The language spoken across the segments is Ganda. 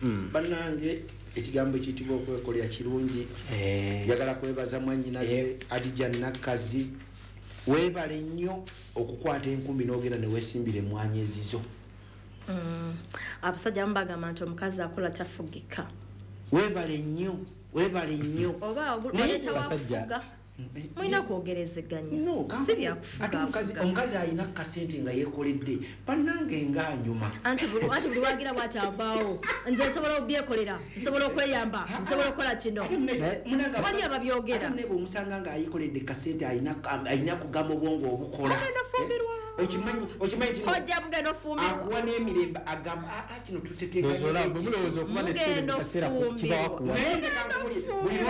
Bannange, ekigambo ekiyitibwa okwekolera kirungi. Njagala kwebaza mwanyinaze Adija Nakkazi, weebale nnyo okukwata enkumbi n'ogenda newesimbira emwanyi ezizo. Abasajja abamu bagamba nti omukazi akola tafugika. Weebale nnyo, weebale nnyo. Oba Naye oleeta wakufuga, mulina kwogerezeganya. No, si ate omukazi byakufuga. Omukazi alina kasente nga yekoledde, bannange, ngaanyuma. Anti buli wagira bwati avaawo, nze nsobola obyekolera, nsobola okweyamba, nsobola okukola kino. Wali ababyogera. Ate munne bweomusanga nga ayekoledde kasente, alina kugamba obwongo obukola. Mugenda ofumbirwa. Okimanyi nti no- Kojja, mugenda ofumbirwa. Akuwa n'emirembe, agamba, "Ah, ah, kino Ndowooza bwe mulowooza okuba ne ssente mu Mugenda kaseera kibawa ofumbirwa. kuwa. Naye nze kankubuulire,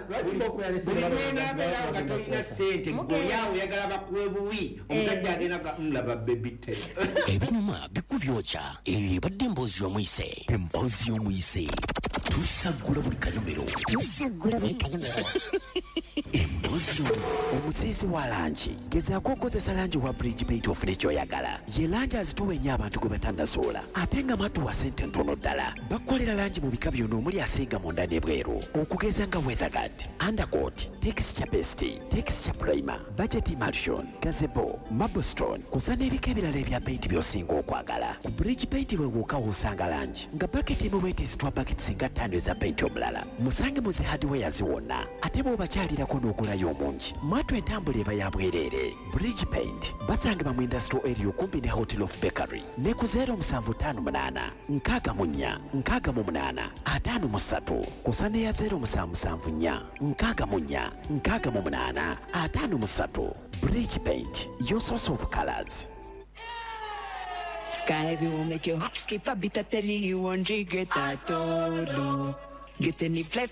Lwaki okubeera ne ssente buli balowooza nti lwonabeerawo nga bagenda tolina kuwasa? ssente, gwe oli awo oyagala bakuwe buwi. Omusajja agenda ga, "Laba baby te." Ebinyuma bikubyokya. Eyo ebadde emboozi y'omuyise, emboozi y'omuyise. Tusaggula buli kanyomero. Tusaggula buli kanyomero. Emboozi y'omuyise. Omusiizi wa langi, gezaako okozesa langi wa Bridge Paint ofune kyoyagala. Ye langi azitowa ennyo abantu gwe batannasuula, ate nga matuwa sente ntono ddala. Bakukolera langi mu bika byonna omuli asiiga munda n'ebweru, okugeza nga weatherguard, undercoat, texture best, texture primer, budget emulsion, gazebo, marblestone, kusa n'ebika ebirala ebya paint by'osinga okwagala. Ku Bridge Paint lwe wokka w'osanga langi nga baketi emu bwetezitwa baketi singa 5 eza paint omulala. Musange mu zi hardwares wonna, ate bw'obakyalirako n'ogulayo omungi, mwatu entambula eba ya bwereere. Bridge Paint basangibwa mu industrial area okumpi ne Hotel of Bakery ne ku 0758 64 68 53, kusa neya 0774 64 68 53. Bridge Paint, your source of colors. Sky will make your heart skip a beat. I tell you you won't regret at all. Oh. Get any flight.